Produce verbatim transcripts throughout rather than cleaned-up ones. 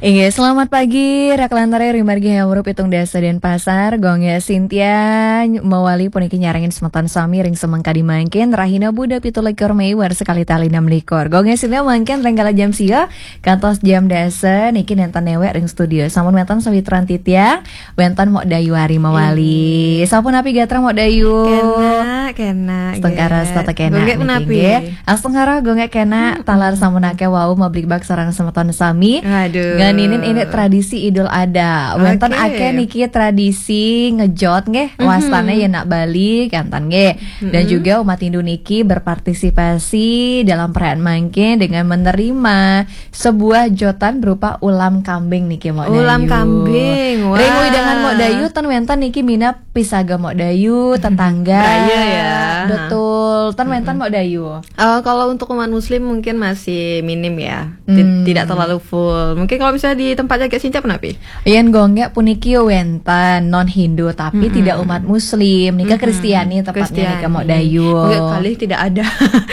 Inggih, selamat pagi, Raklantare, ring margi Hemru Pitung Dasa Denpasar, Gung Gek Sintia, mawali puniki nyarengin semeton sami ring semeng kadi mangkin, rahina Buda pitu likur Mei, warsa kalih tali enam likur. Gung Gek Sintia mangkin ring kala jam sia, kantos jam dasa, niki nenten newek ring studio. Sampun wenten sawitran titiang, wenten Mok Dayu Ari mawali. Sampun napi gatra Mok Dayu? Kena, kena, Astungkara Gek. Setata kena Gung Gek niki, menapi? Nggih. Astungkara Gung Gek kena, taler sampun akeh wau mabligbagan sareng semeton sami. Aduh. Ngeninin ini tradisi Idul Adha. Wenten Oke. Akeh niki tradisi ngejot nggih, wastane yen nak Bali, kenten nggih. Dan juga umat Hindu niki berpartisipasi dalam perayaan mangkin dengan menerima sebuah jotan berupa ulam kambing niki, Mok Ulam Dayu. Kambing, wah. Ring wewidangan Mok Dayu, ten wenten niki minab pisaga Mok Dayu, tetangga. Raya ya. Betul, ten wenten Mok Dayu. Eh, kalau untuk umat muslim mungkin masih minim ya. Ti- Hmm. Tidak terlalu full. Mungkin kalau misalnya di tempat Gung Gek Sintia, napi? Yen Gung Gek puniki wenten non Hindu, tapi tidak umat muslim. Nika Kristiani tepatnya nika, Mok Dayu. Gung Gek kalih tidak ada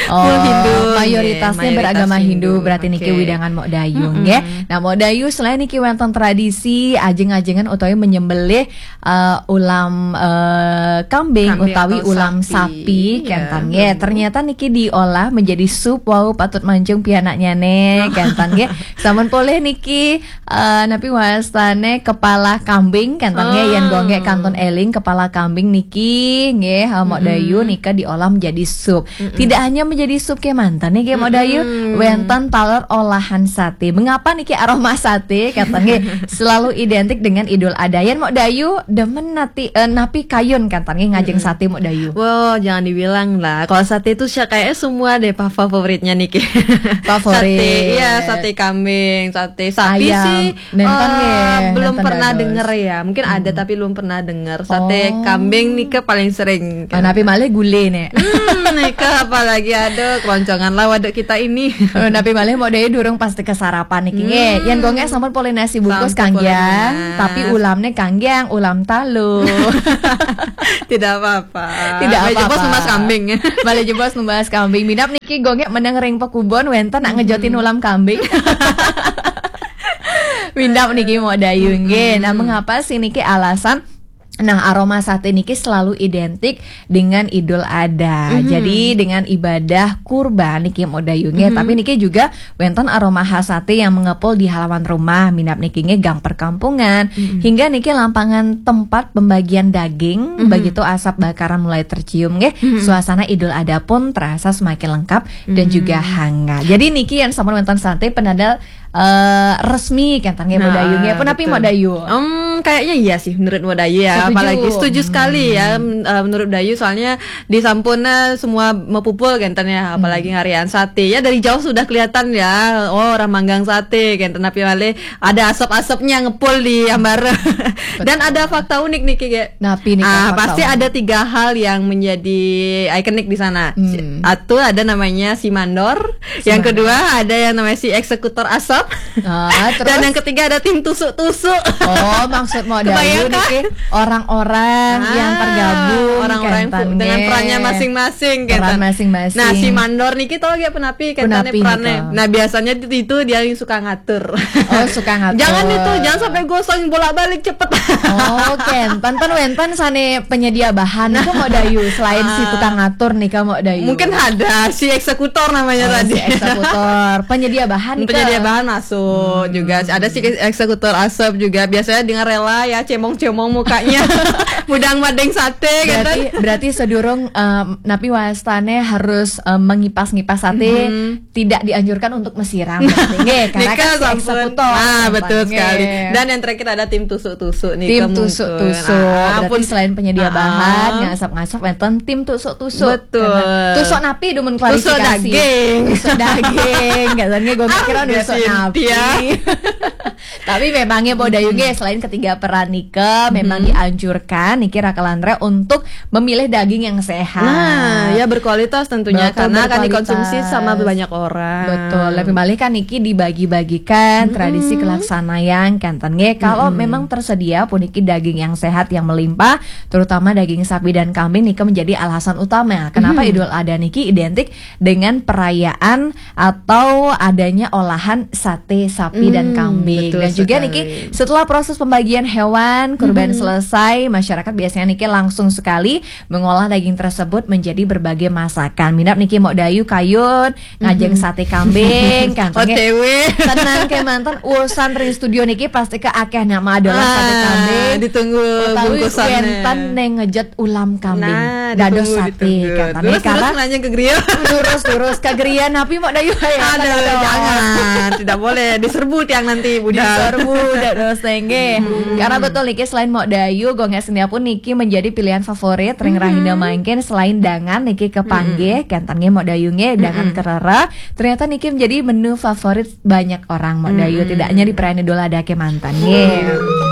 full Hindu. Oh, mayoritasnya nggih, beragama mayoritas Hindu, Hindu. Berarti niki wewidangan Mok Dayu nggih. Nah, Mok Dayu, selain niki wenten tradisi ajeng-ajengan utawi menyembelih eh, ulam, eh, kambing Kambing utawi atau ulam sapi. Sapi, ya. Kenten nggih. Ternyata niki diolah menjadi sup, wau patut manjung pianaknyane, kenten nggih. Sampun polih niki, eh, napi wastane kepala kambing, kenten nggih. Yen Gung Gek kantun eling, kepala kambing niki nggih, eh, Mok Dayu, nika diolah menjadi sup. Tidak hanya menjadi sup kemanten nggih, Mok Dayu, wenten taler olahan sate. Mengapa niki aroma sate, kenten nggih, selalu identik dengan Idul Adha? Yen Mok Dayu demen nati, eh, napi kayun, kenten nggih, ngajeng sate, Mok Dayu? Wah, jangan dibilang lah. Kalau sate itu sya-, kayaknya semua deh pa-, favoritnya niki. Favorit. Sate, iya, sate kambing, sate sapi sih, nenten eh, nggih, belum pernah denger ya. Mungkin ada tapi belum pernah denger. Sate kambing nika paling sering. Ah, napi malih gule nek. Hmm, nika apalagi, aduh, keroncongan lah waduk kita ini. Eh, napi malih Mok Dayu durung pasti kesarapan niki nggih. Yen Gung Gek sampun polih nasi bungkus kanggiang, tapi ulamnya kanggiang, ulam talu. Tidak apa-apa. Tidak apa-apa. Malih jebos numbas kambing. Malih jebos numbas kambing. Minab niki Gung Gek meneng ring pekubon wenten nak ngejotin ulam kambing. Minab niki Mok Dayu nggih. Nah, mengapa sih niki alasan? Nah, aroma sate niki selalu identik dengan Idul Adha. Jadi dengan ibadah kurban niki, Mok Dayu nggih. Tapi niki juga wenten aroma khas sate yang mengepul di halaman rumah, minab niki nggih gang perkampungan, hingga niki lapangan tempat pembagian daging, begitu asap bakaran mulai tercium nggih. Suasana Idul Adha pun terasa semakin lengkap dan juga hangat. Jadi niki yang sampun wenten sate penanda eh, resmi kenten nggih, Mok Dayu nggih. Apa napi, Mok Dayu? Em, kayaknya iya sih menurut Mok Dayu ya. Setuju. Apalagi setuju sekali ya, men- eh, menurut Dayu, soalnya di sampun semua mapupul kenten ya, apalagi ngarian sate. Ya dari jauh sudah kelihatan ya, oh, orang manggang sate kenten, napi malih ada asap-asapnya ngepul di ambara. Dan ada fakta unik niki, Gek. Napi nika fakta unik? Ah, pasti ada tiga hal yang menjadi ikonik di sana. Satu ada namanya si mandor, yang kedua ada yang namanya si eksekutor asap. Ah, terus? Dan yang ketiga ada tim tusuk-tusuk. Oh, maksud Mok Dayu niki orang-orang yang tergabung, orang-orang yang pu- dengan perannya masing-masing, peran masing-masing. Nah, si mandor niki tahu gak penapi, kenten perannya? Nah, biasanya itu, itu dia yang suka ngatur. Oh, suka ngatur. Jangan itu, jangan sampai gosong, bolak-balik cepet. Oh, kenten wenten sane penyedia bahan itu, Mok Dayu, selain si tukang ngatur nika, Mok Dayu. Mungkin ada si eksekutor namanya tadi. Oh, si eksekutor. Penyedia bahan nika. Penyedia bahan masuk juga. Ada si eksekutor asap juga. Biasanya dengan rela ya, cemong-cemong mukanya. Mudang madeng sate, berarti, berarti sedurung, em, napi wastane harus, em, mengipas-ngipas sate, tidak dianjurkan untuk mesiram, berarti. Nggih, karena kan si eksekutor. Ah, betul sekali. Dan yang terakhir ada tim tusuk-tusuk nih. Tim tusuk-tusuk. Berarti selain penyedia bahan, ngasap-ngasap, wenten tim tusuk-tusuk. Betul. Tusuk napi, dumun klarifikasi. Tusuk daging. Tusuk daging. Nggih, soalnya gue mikir tusuk napi. Tapi memangnya Mok Dayu nggih, selain ketiga peran nika, memang dianjurkan niki Raka Lantre untuk memilih daging yang sehat. Nah, ya berkualitas tentunya, karena akan dikonsumsi sama banyak orang. Betul. Lebih malih kan niki dibagi-bagikan, tradisi kelaksanayan kenten nggih. Kalau memang tersedia puniki daging yang sehat yang melimpah, terutama daging sapi dan kambing nika menjadi alasan utama kenapa Idul Adha niki identik dengan perayaan atau adanya olahan sate sapi dan kambing. Betul sekali. Dan Juga niki, setelah proses pembagian hewan kurban selesai, masyarakat biasanya niki langsung sekali mengolah daging tersebut menjadi berbagai masakan. Minab niki Mok Dayu kayun ngajeng sate kambing kan. O T W. Tenang kemanten, urusan ring studio niki pasti ke akeh nak madolah sate kambing. Ditunggu Utawi bungkusannya. Wenten neng ngejet ulam kambing. Nah, Dados ditunggu, sate ditunggu. katanya. Terus, terus Karena nanya ke Gria. Lurus-lurus ke Gria, tapi Mok Dayu ya. Aduh, jangan, tidak boleh, diserbu tiang nanti, budak. Diserbu, dados tengge. Karena betul niki, selain Mok Dayu, Gonggek Sendia pun niki menjadi pilihan favorit ring rahina mangkin. Selain dangan niki kepanggih, kenten nge Mok Dayu nge dangan kerera. Ternyata niki menjadi menu favorit banyak orang Mok Dayu, tidak hanya di perayaan Idul Adha kemanten nge.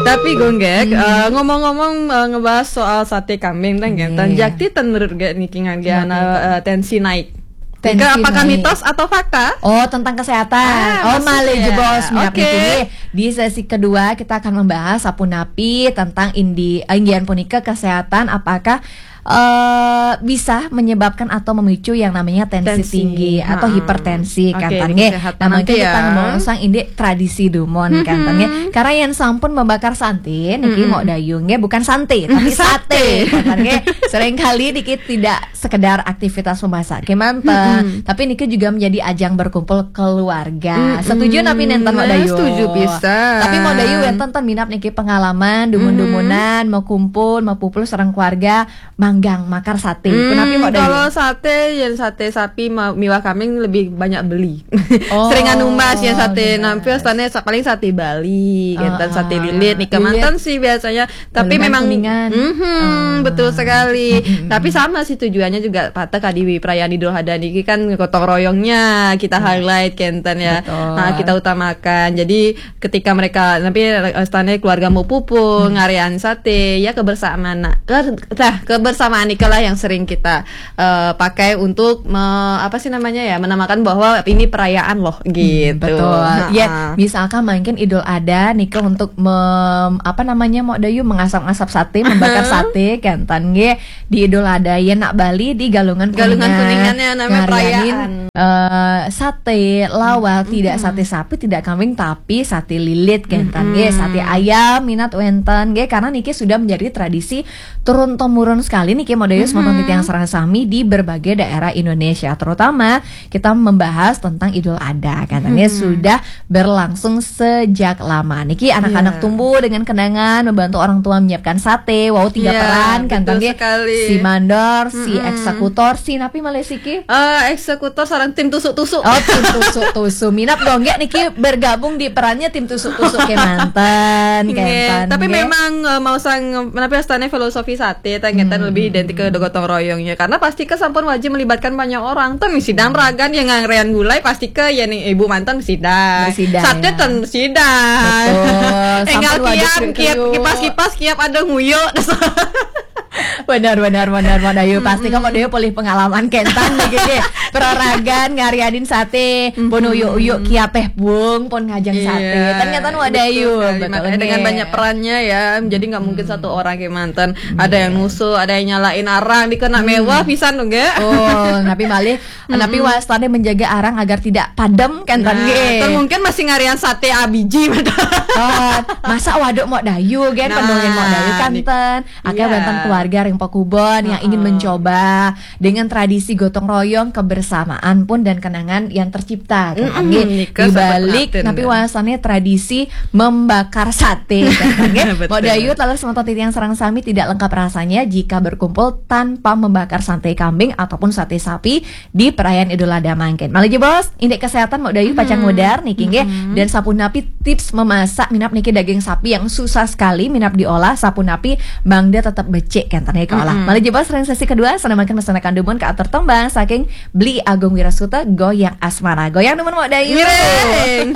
Tapi Gonggek, eh, ngomong-ngomong, eh, ngebahas soal sate kambing, tang, Iya. Tan, jakti ten menurut Gonggek niki ngan Iya, gana, eh, tensi naik. Tensi Ke, apakah naik. Mitos atau fakta? Oh, tentang kesehatan. Ah, Oh, maksudnya. Male jebos, Oke. Ini di sesi kedua kita akan membahas sapunapi tentang indi, inggian punika kesehatan, apakah eh, bisa menyebabkan atau memicu yang namanya tensi, Tensi. tinggi atau Ha-ha. hipertensi Oke, kan ini nggih. kesehatan Nah, mungkin nanti kita ya. ngomong sang indik tradisi dumon kan nggih. Karena yang sampun membakar sate niki Mok Dayu nggih, bukan sate kan nggih. Seringkali niki tidak sekedar aktivitas memasak kemanten, tapi niki juga menjadi ajang berkumpul keluarga. Setuju napi nenten Mok Nah, Dayu? setuju pisan. Tapi Mok Dayu wenten ten minab niki pengalaman dumun-dumunan mau kumpul, mau pupul sareng keluarga manggang makar sate. Punapi Mok Dayu? Kalau sate, yang sate sapi ma- miwah kambing lebih banyak beli. Oh, Sering anu mas ya sate. jelas. Nampi astane sa- paling sate Bali, gitu, Ah, sate ah. lilit nih Lilit. Mantan sih biasanya. Tapi Kuningan, memang Kuningan. Mhm, Ah. betul sekali. Tapi sama sih tujuannya juga patah kadi perayaan Idul Adha niki kan gotong royongnya kita highlight kenten ya. Betul. Nah, kita utamakan. Jadi ketika mereka nanti eh, astane keluarga mau pupul, ngarian sate, ya kebersamaan. Nah, ke, nah, kebersamaan itulah yang sering kita eh, pakai untuk me- apa sih namanya ya, menamakan bahwa ini perayaan loh gitu. Betul. Ha-ha. Ya, misalkan mungkin Idul Adha nika untuk mem- apa namanya Mok Dayu, mengasap-asap sate, membakar sate kenten nggih di Idul Adha ya nak Bali di Galungan Galungan Kuningan. Kuningan ya, namanya Ngarianin, perayaan. eh, sate lawar, tidak sate sapi, tidak kambing, tapi sate lilit kenten nggih, sate ayam minat wenten nggih, karena niki sudah menjadi tradisi turun temurun sekali niki Mok Dayu semanten titiang sareng sami di berbagai daerah Indonesia, terutama kita membahas tentang Idul Adha katanya sudah berlangsung sejak lama. Niki anak-anak Iya. tumbuh dengan kenangan membantu orang tua menyiapkan sate, wow tiga Iya, peran kan betul nggih. sekali. Si mandor, si eksekutor, si napi malih siki? Eh, eksekutor sareng tim tusuk-tusuk. Oh, tim tusuk-tusuk. Minap Gonggek niki bergabung di perannya tim tusuk-tusuk kemanten, Nggih, kenten, tapi nggih. Memang eh, mau sang menapi astane filosofi sate ta nggih, tan lebih identik ke gotong royongnya karena pasti ke sampun wajib melibatkan banyak orang. Tuh misi dam ragan yang ngangrean gulai pasti ke ya nih ibu mantan misi dam. Misi dam, Sate ya. Ten misi dam. Betul. Enggak Sampun wajib kiam, kriuk-kriuk. kiam, kipas-kipas kiap ada nguyuk. Benar, benar, benar, benar. Ayo, pasti kamu dia boleh pengalaman kenten nih, gini. Peraragan ngarianin sate, pun uyuk-uyuk kiapeh bung, pun ngajeng sate. Iya, Ternyata nu ada betul ayu, sekali. betul Makanya nggih. Dengan banyak perannya ya, jadi nggak mungkin satu orang kayak mantan. Ada yang nusu, ada yang nyalain arang, dikena mewah pisan dong, nggak? Oh, napi malih, napi wastane menjaga arang agar tidak padam kan, Nah, nggih. Atau mungkin masih ngarian sate abiji. Oh, masa waduk Mok Dayu kan, Nah, pendongeng Mok Dayu kan nih. ten. Akhirnya Iya. wonten keluarga ring Pakubon yang ingin mencoba dengan tradisi gotong royong, kebersamaan pun dan kenangan yang tercipta. Kan? Mm-mm, Nggih, nika di sampun balik prihatin, napi kan? Wastane tradisi membakar sate. Kan? Nggih, Betul. Mok Dayu taler semanten titiang sareng sami tidak lengkap rasanya jika berkumpul tanpa membakar sate kambing ataupun sate sapi di perayaan Idul Adha mangkin. Malih jebos, indik kesehatan Mok Dayu pacang ngudar niki nggih. Dan sapunapi tips memasak minap niki daging sapi yang susah sekali minap diolah, sapunapi mangda tetap becik kenten nggih keolah. Malih jebos ring sesi kedua, sana mangkin mesanakan dumun ke atur tembang saking Beli Agung Wirasuta, Goyang Asmara. Goyang dumun Mok Dayu. Ngiring.